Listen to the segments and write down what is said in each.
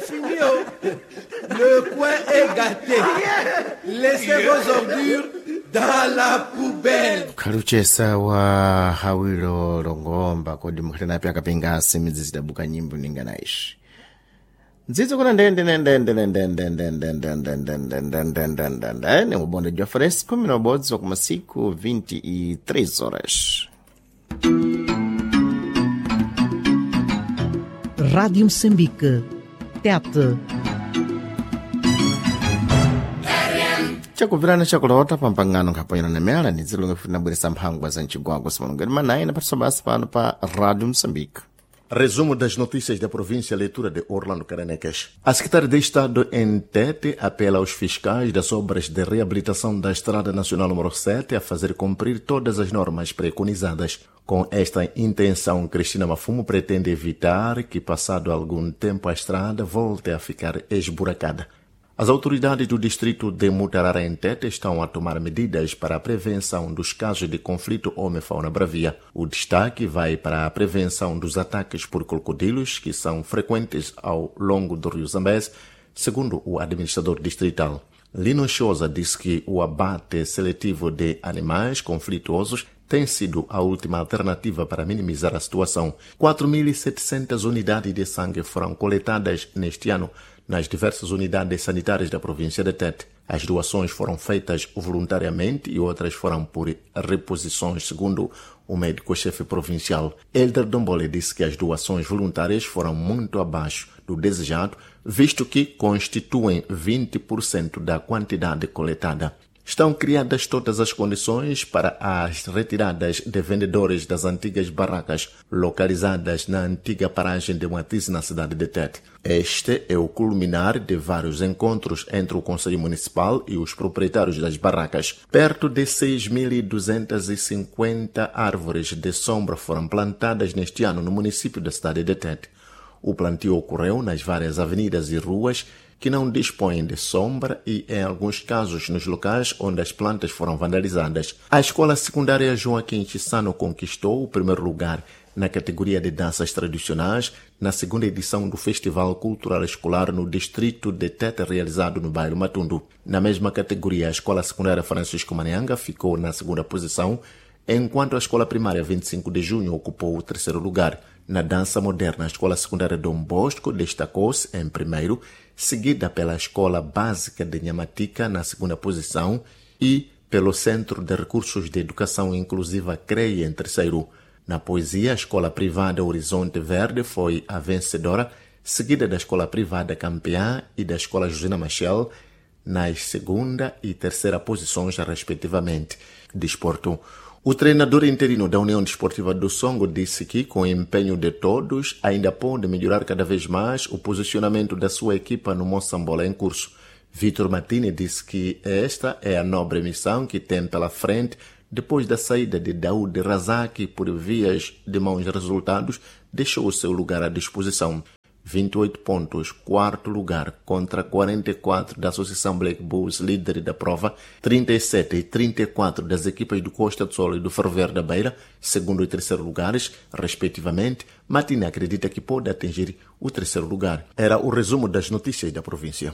fini, oh. Le coin est gâté. Laissez vos ordures dans la poubelle. Khaluchesa wa hawilo longomba kodi mukhatanapi akapingasi midzi zidabuka nyimbo ninganaishi ndzidzo kuna ndendendendendendendendendendendendendendendendende ne ubonde jwa fresco mina ubodzi wa kumasiku 23 horas. Rádio Moçambique. Tete. Chakuvirana chakulota pampangano nkhapanyana na mela ni dzilonge futi nabweresa mphangwa za mcigwagwa simalongeni manayi na patso basi pano pa Rádio Moçambique. Resumo das notícias da província, leitura de Orlando Careneques. A secretária de Estado em Tete apela aos fiscais das obras de reabilitação da Estrada Nacional número 7 a fazer cumprir todas as normas preconizadas. Com esta intenção, Cristina Mafumo pretende evitar que, passado algum tempo, a estrada volte a ficar esburacada. As autoridades do distrito de Mutarara em Tete estão a tomar medidas para a prevenção dos casos de conflito homem-fauna bravia. O destaque vai para a prevenção dos ataques por crocodilos, que são frequentes ao longo do rio Zambeze, segundo o administrador distrital. Lino Chosa disse que o abate seletivo de animais conflituosos tem sido a última alternativa para minimizar a situação. 4.700 unidades de sangue foram coletadas neste ano nas diversas unidades sanitárias da província de Tete. As doações foram feitas voluntariamente e outras foram por reposições, segundo o médico-chefe provincial. Elder Dombole disse que as doações voluntárias foram muito abaixo do desejado, visto que constituem 20% da quantidade coletada. Estão criadas todas as condições para as retiradas de vendedores das antigas barracas localizadas na antiga paragem de Matiz, na cidade de Tete. Este é o culminar de vários encontros entre o Conselho Municipal e os proprietários das barracas. Perto de 6.250 árvores de sombra foram plantadas neste ano no município da cidade de Tete. O plantio ocorreu nas várias avenidas e ruas que não dispõem de sombra e, em alguns casos, nos locais onde as plantas foram vandalizadas. A escola secundária Joaquim Chissano conquistou o primeiro lugar na categoria de danças tradicionais na segunda edição do Festival Cultural Escolar no distrito de Tete, realizado no bairro Matundu. Na mesma categoria, a escola secundária Francisco Manianga ficou na segunda posição, enquanto a escola primária 25 de Junho ocupou o terceiro lugar. Na dança moderna, a escola secundária Dom Bosco destacou-se em primeiro, seguida pela Escola Básica de Nhamatica na segunda posição e pelo Centro de Recursos de Educação Inclusiva CREI em terceiro. Na poesia, a Escola Privada Horizonte Verde foi a vencedora, seguida da Escola Privada Campeã e da Escola Josina Machel nas segunda e terceira posições, respectivamente. Desporto. O treinador interino da União Desportiva do Songo disse que, com o empenho de todos, ainda pode melhorar cada vez mais o posicionamento da sua equipa no Moçambola em curso. Vitor Martini disse que esta é a nobre missão que tem pela frente depois da saída de Daoud Razak por vias de maus resultados, deixou o seu lugar à disposição. 28 pontos, quarto lugar, contra 44 da Associação Black Bulls, líder da prova, 37 e 34 das equipas do Costa do Sol e do Ferroviário da Beira, segundo e terceiro lugares, respectivamente. Martina acredita que pode atingir o terceiro lugar. Era o resumo das notícias da província.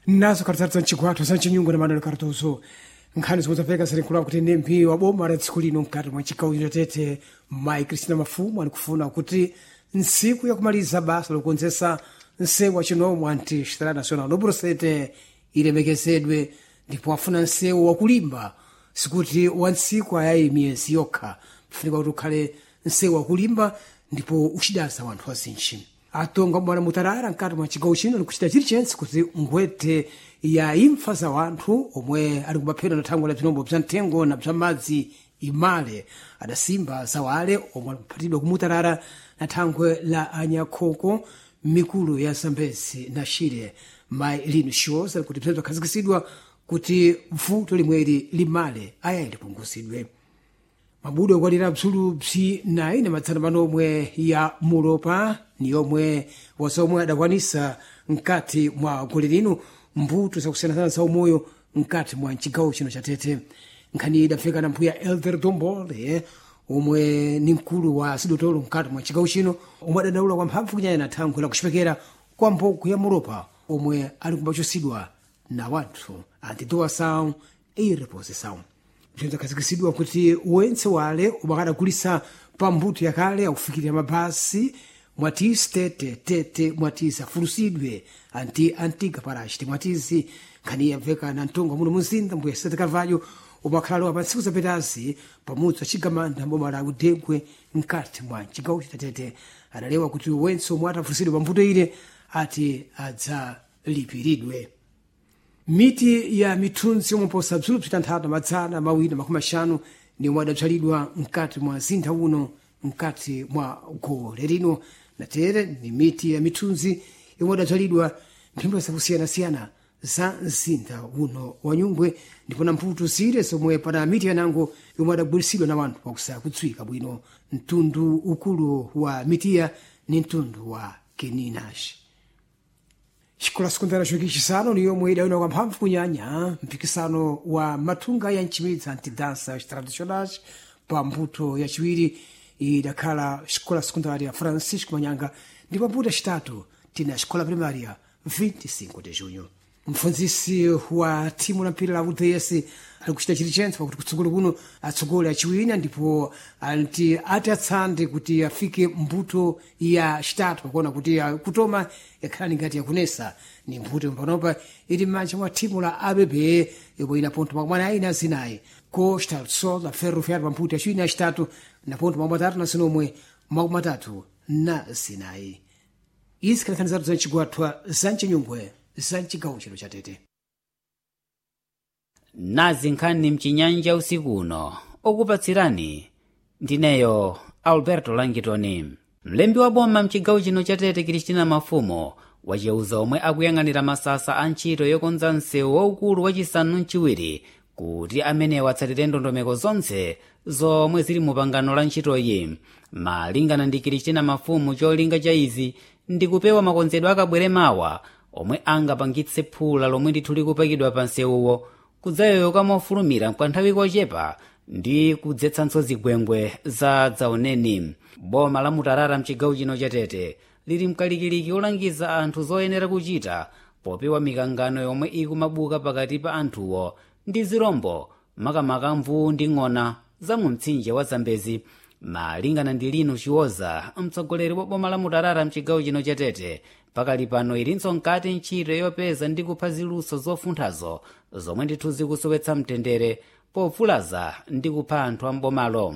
Nazo kartatu za mchigwatho za mchinyungu na Manuel Cardoso. Nkhani zomwe zapeka zilinkulaku kuti nempi wa boma la tsiku lino mkati mwa chigawo chino Tete, mayi Kristina Mafumu alikufuna kuti ntsiku yakumaliza basa lokonzesa nsewu wa chinomwe anti Estrada Nacional do Brusete ilemekezedwe, ndipo afuna nsewu wakulimba, sikuti wa ntsiku ayayi miyezi yokha, kufunika kuti ukhale nsewu wakulimba ndipo uchidaza wanthu azinji. Atonga bwana Mutarara mkati mwa chigawo chino likuchita chilichonse kuti ngwete ya imfa za wanthu omwe ali kumaphedwa na thangwi la bzinombo bza mthengo na bza madzi imale. Adasimba za wale omwe alikuphatidwa kumutarara na thangwe la anyakhoko mikulu ya Zambezi na Shire. Mayi Lino Shoza likuti bzinthu bzakhazikitsidwa kuti vuto limweri limale ayayi lipunguzidwe. Mabudo okwalira bzulu bzinayi na madzana manomwe ya mulopa ni yomwe wazomwe adakwanisa mkati mwa gole lino mbuto zakusiyanasiyana za umoyo mkati mwa mchigawo chino cha Tete. Nkhani idafika na mbuya Elder Dombole omwe ni mkulu wa sidotolo mkati mwa chigawo chino, omwe adandaula kwa mphamvu kunyanya na thankhwe la kuchipekera. kwa mboko ya muropa omwe ali kumbachosidwa na wanthu antidoação e reposição. Bzinzakhazikitsidwa kuti wentse wale umakadagulisa pa mbuto yakale akufikirira mabasi mwatisi tete tete mwatisi afulusidwe anti antiga parachi mwatisi nkhani yamveka na mtongo muno muzinda mbuya Sete Carvalho umakhalalowa pa ntsiku zapitazi pamudzi wa Chigamanda mboma la Udegwe mkati mwa chigawo cha Tete. Adalewa kuti wentse omwe atafulisidwe pa mbuto ile ati adzalipiridwe. Miti ya mithunzi yomwe posa bzulu bzitanthatu 250 ni omwe adabzalidwa mkati mwa mzinda uno mkati mwa gole lino. Natere ni miti ya mithunzi yomwe adabzalidwa mphimbo zakusiyanasiyana za mzinda uno wa Nyungwe, ndipo na mputu zire zomwe pana miti yanango yomwe adagwiritsidwa na wanthu pakusaya kudziwika bwino. Mtundu ukulu wa mitiya ni mtundu wa keninashi. Xikola sekondari choki chisanu ni yomwe idawina kwa mphamvu kunyanya mpikisano wa mathunga ya mchimidzi antidansa tradicionais pa mbuto yachiwiri idakhala xikola sekondari ya Francisco Manyanga, ndipo mbuto yacitatu tina xikola primária 25 de junho. Mfundzisi wa thimu la mpira la UDS ali kuchita chilichentse pakuti kutsogolo kuno atsogole achiwina, ndipo anti ati atsande kuti afike mbuto ya chitatu, pakuona kuti kutoma yakhala ngati yakunesa ni mbuto panopa ili m'manja mwa thimu la ABB yomwe ina ponto 44. Costa do Sol la Ferroviário pa mbuto yachiwiri na yachitatu na ponto 34. Izi khalekani zathu za mcigwathwa za mchinyungwe za mchigawo chino cha Tete. Nazi nkhani mchinyanja usiku uno okupatsirani ndineyo Alberto Langitoni. Mlembi wa boma mchigawo chino cha Tete Kristina Mafumo waceuza omwe akuyang'anira masasa a ntchito yokonza msewu waukulu wachisanu mchiwiri kuti amenewa atsatire ndondomeko zonse zomwe zili mu pangano la ntchitoyi. Malingana ndi Kristina Mafumo, cholinga cha izi ndi kupewa makonzedwe akabwere mawa omwe angapangitse phula lomwe ndithu likupakidwa pa nsewuwo kudzayoyoka mofulumira kwa nthawi kochepa ndi kudzetsanso zigwengwe za dzaoneni. Boma la Mutarara mchigawo chino cha Tete lili mkalikiliki olangiza anthu zoyenera kuchita popewa mikangano yomwe ikumabuka pakati pa anthuwo ndi zirombo, makamaka mvuu ndi ng'ona za mu mtsinje wa Zambezi. Malingana ndi Lino Chiwoza, mtsogoleri wa boma la Mutarara mchigawo chino cha Tete, pakali pano ilinso mkati ntchito yopeza ndi kupha ziluso zofunthazo zomwe ndithu zikusowetsa mtendere povulaza ndi kupha anthu ambomalo.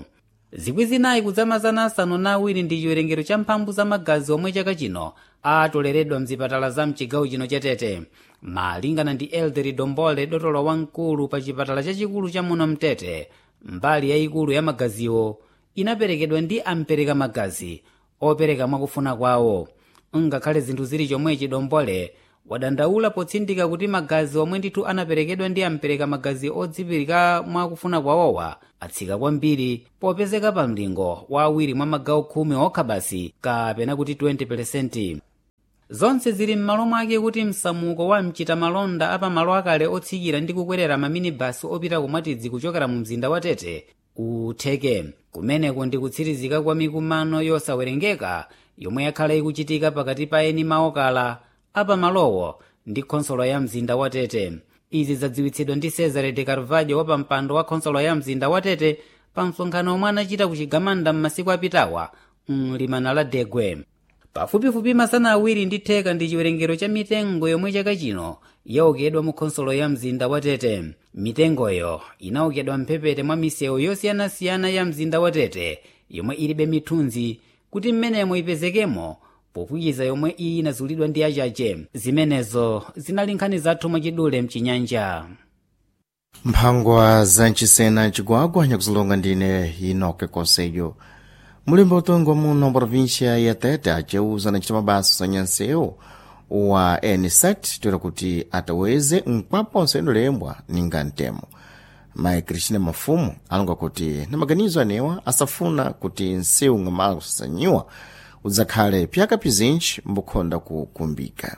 4,702 ndi chiwerengero cha mphambu za magazi omwe chaka chino atoleredwa mzipatala za mchigawo chino cha Tete. Malingana ndi Elderi Dombole, dotolo wamkulu pa chipatala chachikulu cha muno mtete, mbali yayikulu ya magaziwo inaperekedwa ndi ampereka magazi opereka mwakufuna kwawo. Ngakhale zinthu zili chomwechi, Dombole wadandaula potsindika kuti magazi omwe ndithu anaperekedwa ndi ampereka magazi odzipirika mwakufuna kwawowa atsika kwambiri popezeka pa mlingo wa awiri mwa magawo 10 okha basi, kapena kuti 20%. Zonse zili m'malo mwake kuti msamuko wa mchitamalonda apamalo akale otsikira ndi kukwerera maminibasi opita kumwatidzi kuchokera mu mzinda wa Tete utheke. Kumeneko ndi kutsirizika kwa mikumano yosawerengeka yomwe yakhala ikuchitika pakati pa eni maokala apamalowo ndi khonsolo ya mzinda wa Tete. Izi zadziwitsidwa ndi Cesare de Carvalho wapampando wa khonsolo ya mzinda wa Tete pa msonkhano omwe anachita ku Chigamanda m'masiku apitawa mlimana la Degwe. Pafupifupi 250 ndi chiwerengero cha mitengo yomwe chaka chino yaokedwa mu khonsolo ya mzinda wa Tete. Mitengoyo inaokedwa mphepete mwa misewu yosiyanasiyana ya mzinda wa Tete yomwe ilibe mithunzi kuti mmenemo ipezekemo popwikiza yomwe iyi inazulidwa ndi achache. Zimenezo zinali nkhani zathu mwachidule mchinyanja. Mphangwa za mchisena chigwagwa nyakuzilonga ndine Inoke Konseyo. Mulimbo utongo muno província ya Tete aceuza na mabasa sanyansewu wa nsat toera kuti ataweze mkwapo nsendo ninga ntemo. Mayi Cristina Mafumu alonga kuti na maganizo anewa asafuna kuti nsewu ng'amala kusasanyiwa udzakhale pyaka pizinji mbukhonda kukumbika.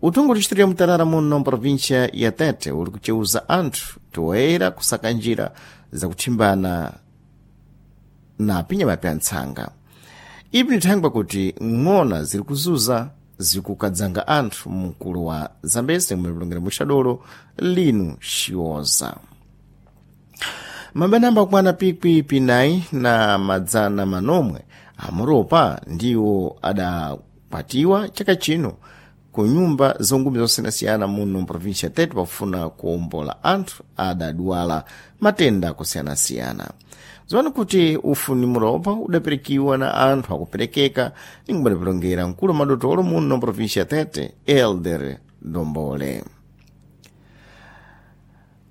Utungu distrito ya Mutarara muno província ya Tete uli kuceuza anthu toera kusaka njira zakuthimbana na pinyama pya ntsanga. Ipi nithangwa kuti ng'ona ziri kuzuza zikukadzanga anthu mkulu wa Zambezi mlipulongera muxadolo linu xioza. Mabanamba akwana pikwi pinayi na madzana manomwe amuropa ndiwo adakwatiwa chaka chino ku nyumba zongumi zosiyanasiyana muno mprovinsia ya Tete pofuna kuwombola anthu adadwala matenda akusiyanasiyana. Ziwani kuti ufuni muropa udaperekiwa na anthu akuperekeka ninkumadapilongera mkulu wa madotolo muno mprovinsia ya Tete Elder Dombole.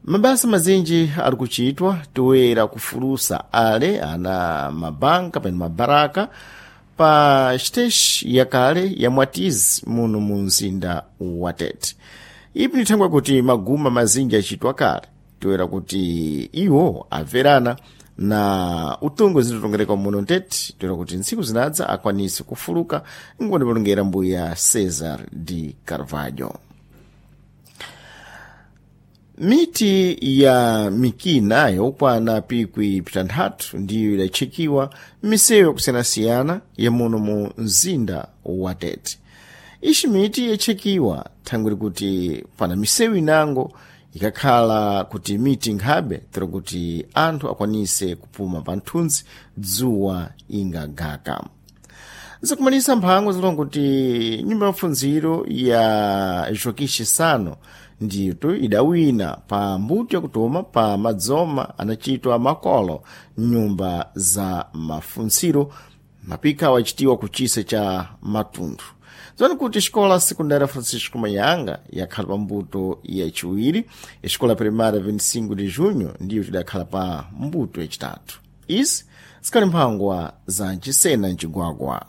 Mabasa mazinji ari kuchitwa toera kufulusa ale ana mabanka pano mabaraka pa siteshi yakale ya Mwatizi muno mu mzinda wa Tete. Ipi ni thangwe kuti maguma mazinji achitwa kale toera kuti iwo amverana na utungo zitotongereka muno Tete toera kuti ntsiku zinadza akwanise kufuluka nkumadapilongera mbuya Cesar de Carvalho. Miti ya mikina yokwana pikwi pitanthatu ndiyo idatchekiwa m'misewu yakusiyanasiyana ya muno mu mzinda wa Tete. Ixi miti yatchekiwa thangwi kuti pana misewu inango ikakhala kuti miti nkhabe tero kuti anthu akwanise kupuma pa nthunzi dzuwa ingagaka. Zakumalisa mphango zilonga kuti nyumba ya mafunziro ya Joaquim Chissano ndithu idawina pa mbuto yakutoma pa madzoma anachitwa makolo nyumba za mafunziro mapika wachitiwa kuchisa cha matundu. Zoni kuti xikola sekundari Francisco Mayanga yakhala pa mbuto yachiwiri, ixikola primária 25 de junho ndiyo tidakhala pa mbuto yachitatu. Izi zikali mphangwa za nchisena mcigwagwa.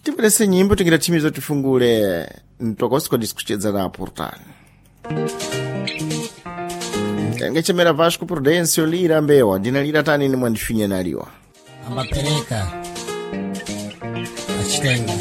Tipelese nyimbo tingira thimizo tifungule mtokosi kodi sikuchedza na portal. Tangechemera Vasco Prudêncio Lira Mbewa, ndina lira tani ni mwandifinya naliwa. Amapereka achitenga.